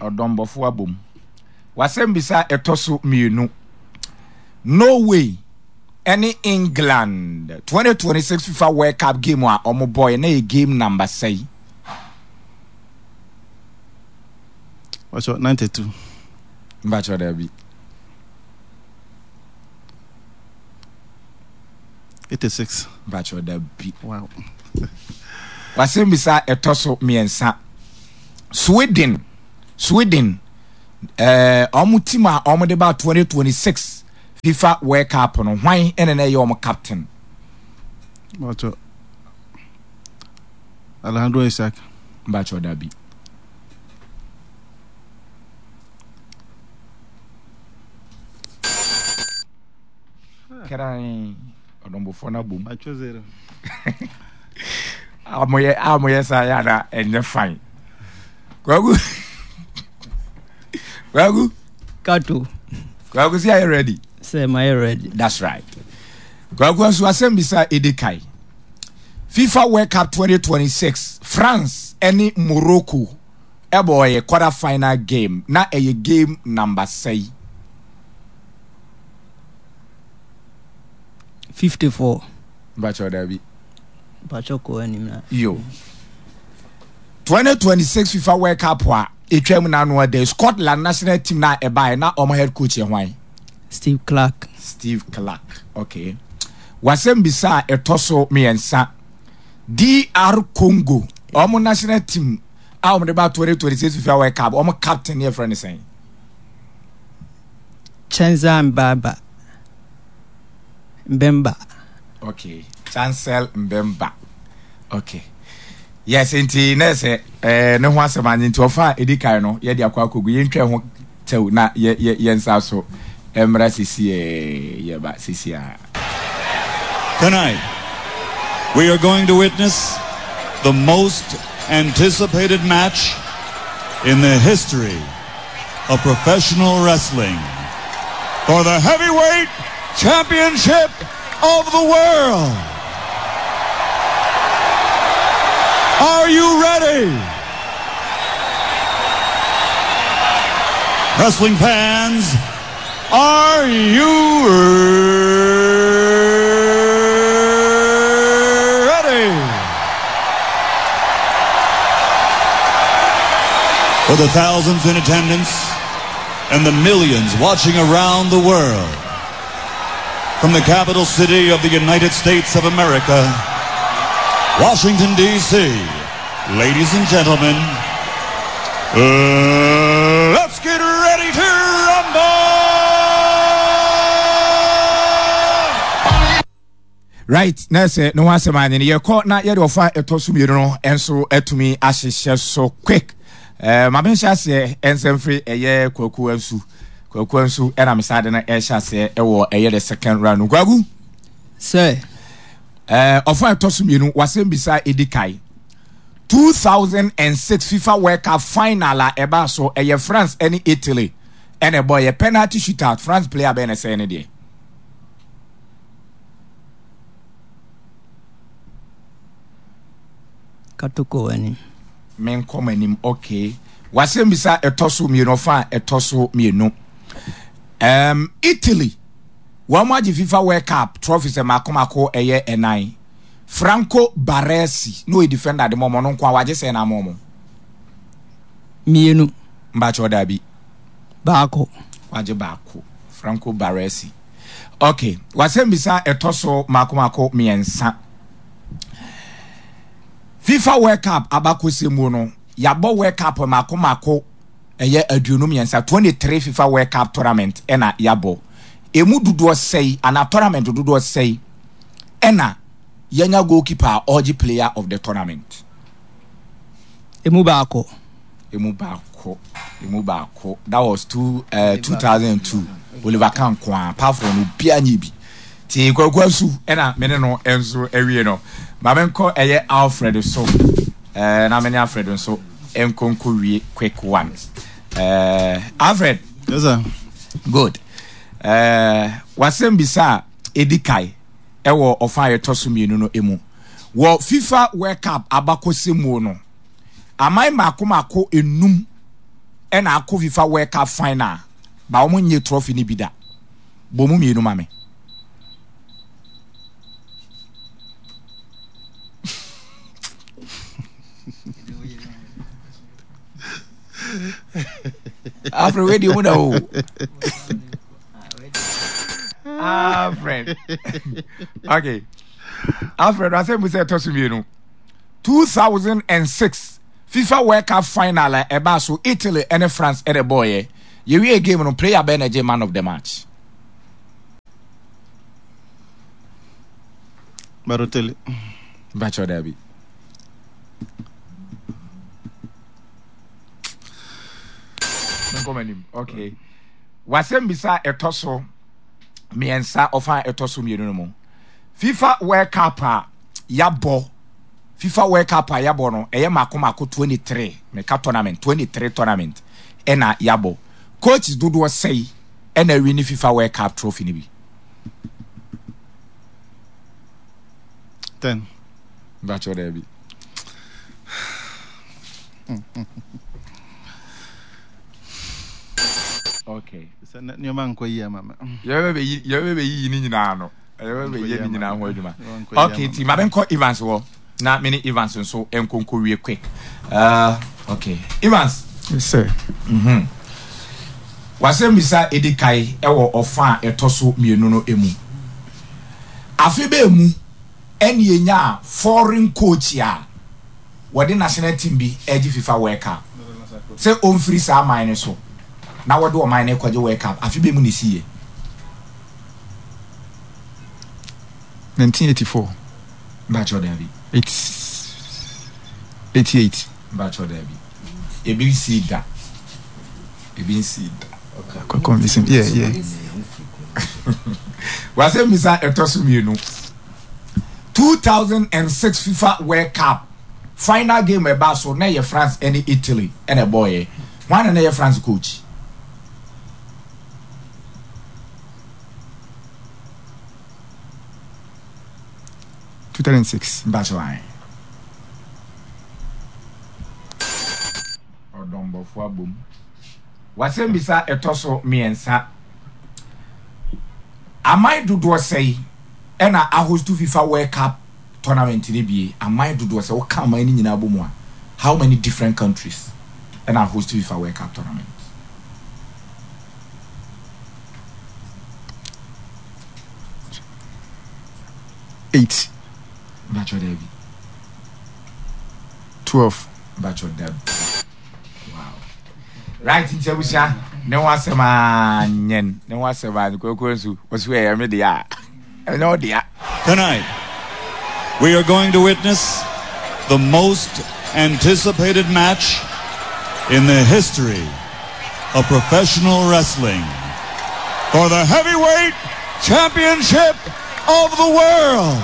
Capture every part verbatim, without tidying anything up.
Ɔdɔmbɔfo abom. Wasɛm bisa ɛtɔ so mmienu. Norway ɛne England twenty twenty-six FIFA World Cup game a ɔmo bɔɔ na yɛ game number sɛyi? Ɔsɔ ninety-two. Mbakyɛ, daabi. eighty-six. Mbakyɛ, daabi. Wow. Wasɛm bisa ɛtɔ so mmiɛnsa. Sweden Sweden ɛɛ ɔmo team a ɔmo de ba twenty twenty-six FIFA World Cup no, hwan ɛna na ɛyɛ ɔmo captain? Ɔsɔ Alejandro Isak. Mbakyɛ, daabi. Kran ɔdɔmbɔfoɔ no abom. Atwa zero. A moyɛ a moyɛ saa yɛ ana ɛnyɛ fine. Kwaku, Kwaku. Kato. Kwaku si ayɛ ready? Sɛ mayɛ ready. That's right. Kwaku nso, asɛm bisa edi kan. FIFA World Cup twenty twenty-six, France ɛne Morocco ɛbɔ ɔyɛ quarter final game na ɛyɛ game number sɛyi? fifty-four. Mbakyɛ, dabi. Mpakyɛ, kɔ anim na. Yo, twenty twenty-six FIFA World Cup a etwa mu n'ano ɛdɛ, Scotland national team na ɛbaeɛ na ɔmo head coach yɛ hwan? Steve Clark. Steve Clark, okay. Wasɛm bisa a ɛtɔ so mmiɛnsa. D R Congo ɔmo national team a ɔmo de ba twenty twenty-six FIFA World Cup, ɔmo captain yɛ frɛ ne sɛn? Chancel Mbaba Mbemba. Okay, Chancel Mbemba, okay. Yes, nti na sɛ ɛɛ ne ho asɛm anye nti ɔfa a edi kan no yɛde akɔ akɔgu yɛntwa ho tɛw na yɛ yɛ yɛn nsa so mmra sisi ɛɛ yɛba sisi a. Tonight, we are going to witness the most anticipated match in the history of professional wrestling for the heavyweight championship of the world. Are you ready? Wrestling fans, are you ready? For the thousands in attendance and the millions watching around the world, from the capital city of the United States of America, Washington, D C, ladies and gentlemen, uh, let's get ready to rumble! Right, na sɛ ne ho asɛm anye no yɛkɔ na yɛde ɔfa a ɛtɔ so mmienu no nso atumi ahyehyɛ so quick. ɛɛ maame, nhyɛ aseɛ nsɛmfiri ɛyɛ Kwaku Ansu. Kwaku Ansu ɛna mesa de no ɛhyɛ aseɛ ɛwɔ ɛyɛ the second round no. Kwaku. Sɛ. ɛɛ ɔfa a ɛtɔ so mmienu, wasɛm bisa edi kae. two thousand and six FIFA World Cup final a ɛbaa so, ɛyɛ France ɛne Italy ɛna ɛbɔ ɛyɛ penalty shootout, France player bɛyɛ na ɛsɛn ne deɛ? Kato, kɔ anim. Menkɔ m'anim, okay. Wasɛm bisa ɛtɔ so mmienu, ɔfa a ɛtɔ so mmienu. um, italy wɔn mo agye FIFA World Cup trophy sɛ mako mako ɛyɛ ɛnan. Franco Baresi na ɔyɛ defender de mɔmɔ no nko a wagye sɛ na mɔmɔ? Mmienu. Mbakyɛ, ɔdaabi. Baako. Wagye baako, Franco Baresi, okay. Wasɛm bisa ɛtɔ so mako mako mmiɛnsa. FIFA World Cup abakɔsɛm mu no, yɛabɔ World Cup mako mako ɛyɛ aduonu mmiɛnsa, twenty three FIFA World Cup tournament ɛna yɛabɔ. Emu dodoɔ sɛyi anaa tournament dodoɔ sɛyi ɛna yɛnya goalkeeper a ɔgye player of the tournament? Emu baako. Emu baako, emu baako. That was two uh, two thousand and two, Oliver Kahn nkoa. Apart from no, obiara nye bi. Ti Kwaku Asu ɛna mene no nso awie no, maame nkɔ ɛyɛ Alfred so ɛɛ na mene Alfred nso nkonko wie quick one. ɛɛ Alfred. Yes, sir. Good. ɛɛ wasɛm bisa a edi kae ɛwɔ ɔfa a yɛtɔ so mmienu no emu wɔ FIFA World Cup abakɔsɛm mu no, aman mako mako enum ɛna akɔ FIFA World Cup final ba wɔn nye trophy ni bi da? Bɔ mu mmienu ma me. Alfred, wei deɛ mu na o. Alfred, okay, Alfred, asɛm mu sɛ ɛtɔ so mmienu, two thousand and six FIFA World Cup final a ɛbaa so, Italy ɛne France ɛna ɛbɔɔyɛ. Yɛwie game no, player bɛn na ɛgye man of the match? Balotelli. Mpakyɛw, daabi. Menkɔ m'anim. Okay, wasɛm bisa a ɛtɔ so mmiɛnsa, ɔfa a ɛtɔ so mmienu no mu, FIFA World Cup a yabɔ, FIFA World Cup a yabɔ no, ɛyɛ mako mako twenty-three. Meka tournament, twenty-three tournament ɛna yabɔ. Coaches dodoɔ sɛyi ɛna awi ne FIFA World Cup trophy no bi? Ten. Mpakyɛw, daabi. Okay. Sɛ nneɛma nkɔ yie ama me. Yɛbɛ yɛbɛ bɛyiyi ne nyinaa no, yɛbɛ bɛyɛ ne nyinaa ho adwuma. Okay, ti ma bɛnkɔ Evans wɔ na me ne Evans nso nkonko wie quick. uh, okay Evans. Yes, sir. mm-hmm. Wasɛm bisa edi kae ɛwɔ ɔfa a ɛtɔ so mmienu no emu, afe bɛɛ mu ɛne enya foreign coach a wɔde national team bi ɛgye FIFA World Cup sɛ ɔmfiri saa aman no so na wɔde ɔman no kɔgye World Cup, afe bɛɛ mu ne si yɛ? nineteen eighty-four. Mbakyɛw, daabi. eighty-eight. Mbakyɛw, daabi. Ebi nsi da, ebi nsi da. Convincing. Yeah, yeah. Wasɛm bisa ɛtɔ so mmienu, two thousand and six FIFA World Cup final game ɛba so na ɛyɛ France ɛne Italy ɛna ɛbɔɔyɛ. Wɔn na na ɛyɛ France coach? two thousand six. Mbakyɛw, ayi ɔdɔnbɔfo abom. Wasɛm bisa ɛtɔ so mmiɛnsa, aman dodoɔ sɛyi ɛna ahost FIFA World Cup tournament ne bie? Aman dodoɔ sɛ wɔka aman no nyinaa bɔ mu a, how many different countries ɛna host FIFA World Cup tournament? Eight. Mbakyɛw, daabi. Twelve. Mbakyɛw, daabi. Wow, right, nti abusua ne ho asɛm anyɛn ne ho asɛm a kwakuo nso wɔsi ɛyɛ me deɛ a ɛnyɛ wo dea. Tonight, we are going to witness the most anticipated match in the history of professional wrestling for the heavyweight championship of the world.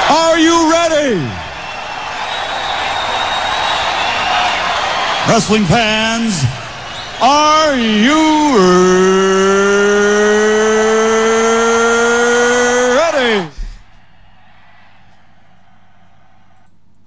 Are you ready? Wrestling fans, are you ready?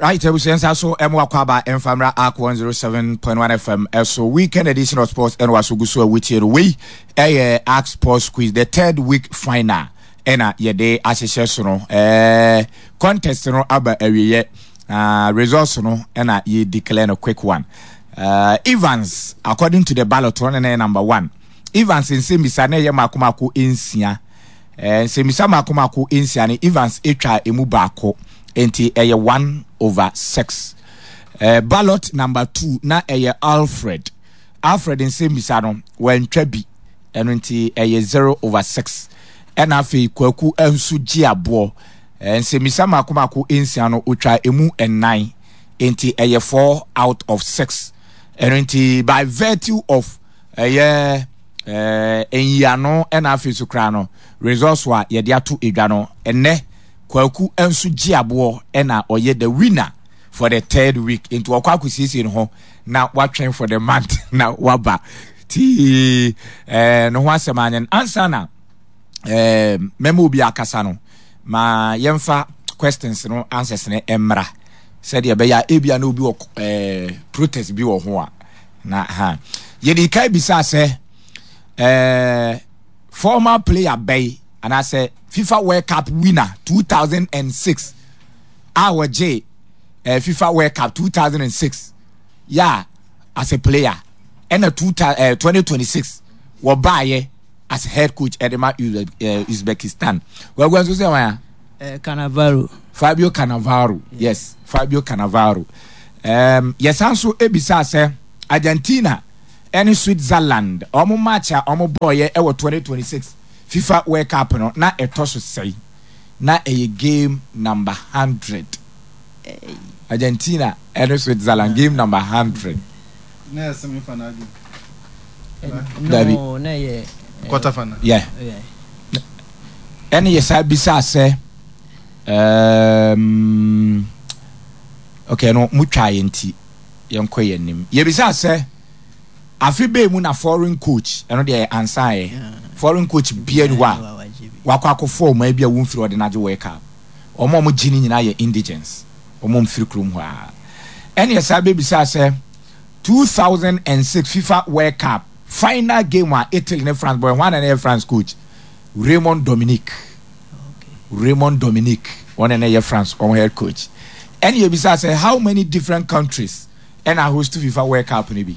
Right, abusua nsa so ɛmo akɔ aba mfamra Ark one oh seven point one F M ɛso, weekend edition of sports ɛna waso gu so a wotie no. Wei ɛyɛ Ark Sports Quiz, the third week final ɛna yɛde ahyehyɛ so no. ɛɛ contest no aba awieɛ, uh, results no ɛna yɛ declare no quick one. uh, Evans, according to the ballot no, na ɛyɛ number one. Evans nsɛmmisa na ɛyɛ mako mako nsia. ɛɛ nsɛmmisa mako mako nsia no, Evans atwa emu baako, nti ɛyɛ one over six. ɛɛ ballot number two na ɛyɛ Alfred. Alfred nsɛmmisa no, wɔntwa bi, ɛno nti ɛyɛ zero over six. Ɛna afei Kwaku nso gye aboɔ, ɛɛ nsɛmmisa mako mako nsia no, otwa emu nnan, nti ɛyɛ four out of six. Ɛno nti by virtue of ɛyɛ ɛɛ nyiano ɛna afei so koraa no, results a yɛde ato edwa no, ɛnɛ Kwaku nso gye aboɔ ɛna ɔyɛ the winner for the third week. Nti ɔkɔ akɔsiesie ne ho na watwɛn for the month na waba ti ɛɛ ne ho asɛm anyɛ no. Ansa na ɛɛ mɛma obi akasa no, ma yɛmfa questions no answers no mmra. Sɛdeɛ ɛbɛyɛ a ebia na obi wɔ ɛɛ protest bi wɔ ho a na ha yɛde ka bisa sɛ ɛɛ former player bɛyi anaasɛ FIFA World Cup winner two thousand and six a wɔgye ɛɛ FIFA World Cup two thousand and six yɛ as a player ɛna two ɛɛ twenty twenty six wɔbaayɛ as head coach ɛde ma Uzbekistan wɔagua nso sɛ wɔn a. Uh, Cannavaro. Fabio Cannavaro. Yeah. Yes, Fabio Cannavaro. Um, yɛsan so ebisa sɛ Argentina ɛne Switzerland ɔmo match a ɔmo bɔɔyɛ ɛwɔ twenty twenty six FIFA World Cup no na ɛtɔ so sɛn na ɛyɛ game number hundred. Argentina ɛne Switzerland game number hundred. Na yɛ semi final game. Dabi. No, na yɛ quarter final. Yeah. Ɛne yɛsan bisa sɛ um, okay no mutwa yɛn ti yɛnkɔ yɛn nim yɛbisa sɛ afe bɛɛ mu na foreign coach ɛno deɛ ansa yɛ foreign coach bia ni hɔ a wakɔ akɔfɔ ɔman bi a wɔmfiri ɔde n'agye World Cup ɔmo a ɔmo gye ne nyinaa yɛ indigens ɔmo mfiri kurom hɔ a ɛne yɛsan bɛbisa sɛ two thousand and six FIFA World Cup final game a Italy ne France bɔ hwan na ɛyɛ France coach Raymond Domenech Raymond Domenech wɔn na ɛyɛ France wɔn head coach ɛne yɛbisa sɛ how many different countries ɛna host FIFA World Cup no bi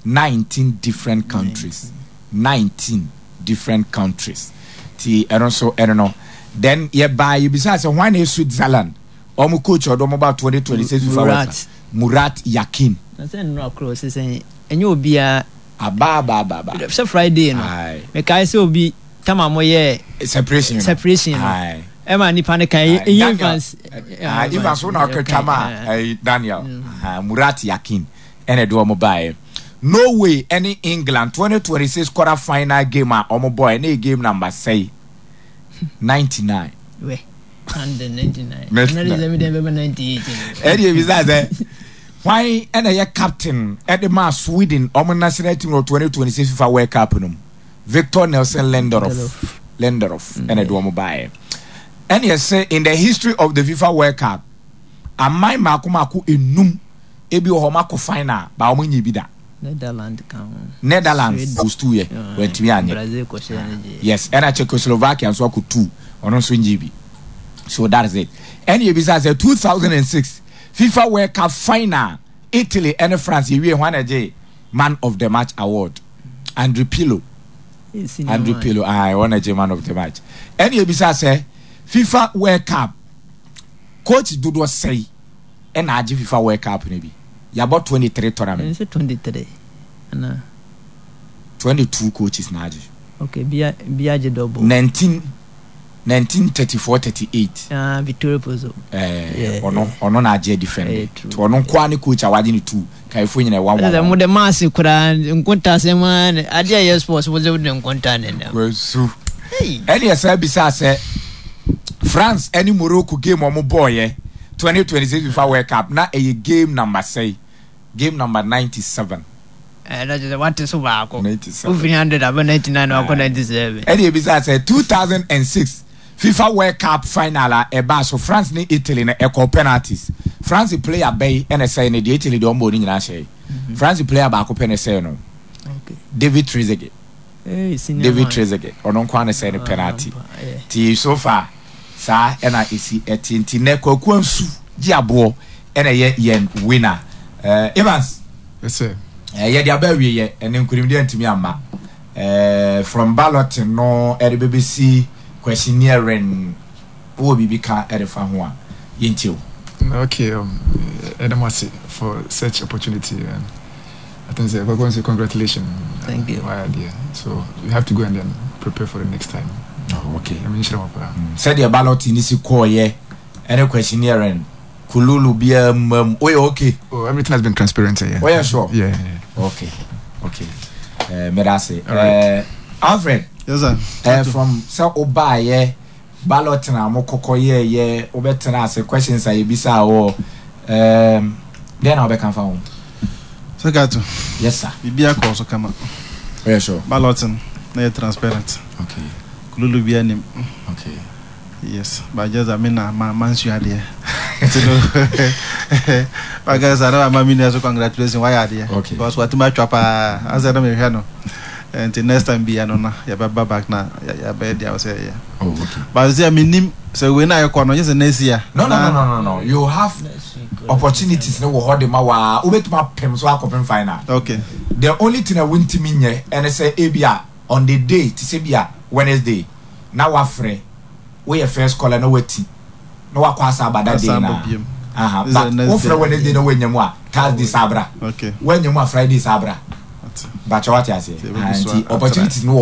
nineteen different countries nineteen different countries ti ɛno nso ɛno no then yɛbaa yɛbisa sɛ hwan na yɛ Switzerland wɔn coach ɔdɔ wɔn ba twenty twenty six FIFA World Cup Murat Yakin. Na sɛ nnura koro sisan ɛnyɛ obiara. Aba aba aba aba. Sɛ Friday no mekae sɛ obi tama mo yɛ separation separation no ɛma nipa ne kan ɛyɛ Evans Evans wo na ɔkɛtwa ma Daniel Murat Yakin ɛna ɛde wɔn baeɛ Norway ɛne England twenty twenty six quarter final game a wɔn bɔɔ ɛne game number sɛyi ninety nine. Ɛde ebisa sɛ hwan ɛna ɛyɛ captain ɛde maa Sweden ɔmo national team wɔ twenty twenty six FIFA World Cup no mu Victor Nelson Lindelof Lindelof ɛna ɛde wɔn baeɛ ɛna ɛsɛ in the history of the FIFA World Cup aman mako mako enum ebi wɔ hɔ ɔmo akɔ final ba ɔmo nye bi da. Netherlands kan ho. Netherlands host two yɛ wɔntumi anyɛ. Brazil kɔhyɛ ne gye. Yes ɛna Czechoslovakia nso akɔ two ɔno nso nye bi so that is it ɛna ebisa sɛ two thousand and six FIFA World Cup final Italy ɛne France yɛwie hwan na ɛgye man of the match award Andre Pirlo Andre Pirlo ayi wɔn na ɛgye man of the match ɛna ebisa sɛ FIFA World Cup coach dodoɔ sɛyi ɛna agye FIFA World Cup no bi yabɔ twenty three tournament. Ɛnse twenty three ana. twenty two coaches na agye. Okay bia bia agye double. nineteen nineteen thirty four thirty eight. Ah Vittorio Pozzo. Ɛɛ ɔno ɔno na agye defend. Ɔno nkoa ne coach a wagye ne two kaifo nyina one one. Ɛsɛ mo de maasi koraa nkonta sɛm ara ne adeɛ a ɛyɛ sports mo de nkonta ne nam. Wasu. Ɛne ɛsɛ bisa sɛ France ɛne Morocco game ɔmo bɔɔyɛ twenty twenty six FIFA World Cup na ɛyɛ game number sɛyi game number ninety seven. Ɛna kyerɛ sɛ wate so baako. ninety seven. Wofiri hundred abɛ ninety nine wakɔ ninety seven. Ɛne ebisa sɛ two thousand and six FIFA World Cup final a ɛbaa so France ne Italy no ɛkɔ penalties. France player bɛyi ɛna ɛsɛe no deɛ Italy deɛ ɔmbɔ ne nyinaa hyɛ. France player baako pɛ na ɛsɛe no. David Trezeguet. Hey, David Trezeguet ɔno nko ara na ɛsɛe no penalty. Ti so far saa ɛna esi ɛte nti nɛ Kwaku Ansu gye aboɔ ɛna ɛyɛ yɛn winner. Uh, Evans. Yes sir. Uh, yɛde aba awie yɛ ɛne nkunimdi antumi amma. Uh, from ballot no ɛde bɛbɛsi questioneering wowɔ biribi ka ɛde fa ho a yɛntie wo. Okay, um, Adam Wasi for such opportunity. Um, I think say, Kwaku say congratulations. Thank you. Why idea? So you have to go and then prepare for the next time. Oh, okay. I mean, sure. Sɛdeɛ ballot ni si kɔɔyɛ ɛne questioneering kululu biara mmam woyɛ okay. Oh, everything has been transparent. Yeah. Woyɛ sure? Yeah. yeah. Okay. Okay. Uh, Medase. All right. Uh, Alfred. Yes sir. Uh, from sɛ wobaayɛ ballot na mo kɔkɔ yɛɛyɛ wobɛtena ase questions a yɛbisa wɔ um, dɛn na wobɛka fa ho? Sɛ Gato. Yes sir. Biribi akɔ so kama. Woyɛ sure? Ballot no na yɛ transparent. Okay. Kululu bi anim. Okay. Yes, but just that me na ma man sua adeɛ. Nti no waka sɛ na mama mi nua so congratulations, wayɛ adeɛ. Okay. Because watumi atwa paa asɛ na mehwɛ no, nti next time bia no na yɛbɛba back na yɛbɛyɛ deɛ wɔ sɛ yɛyɛ. Oh, okay. But sɛ menim sɛ wei na yɛkɔ no nyɛ sɛ next year. No, no, no, no, no, no, you have opportunities ne wɔ hɔ de ma waa, wobɛtumi apem so akɔpem final. Okay. The only thing a wontumi nyɛ ɛne sɛ ebi a on the day, te sɛ bi a Wednesday na wafrɛ, woyɛ first caller na wati na wakɔ asa aba that day na aha, but wofrɛ Wednesday na wanya mu a, Thursday saa bra. Okay. Wanya mu a, Friday saa bra. Bakyɛ, wate aseɛ? Nti opportunities no wɔ.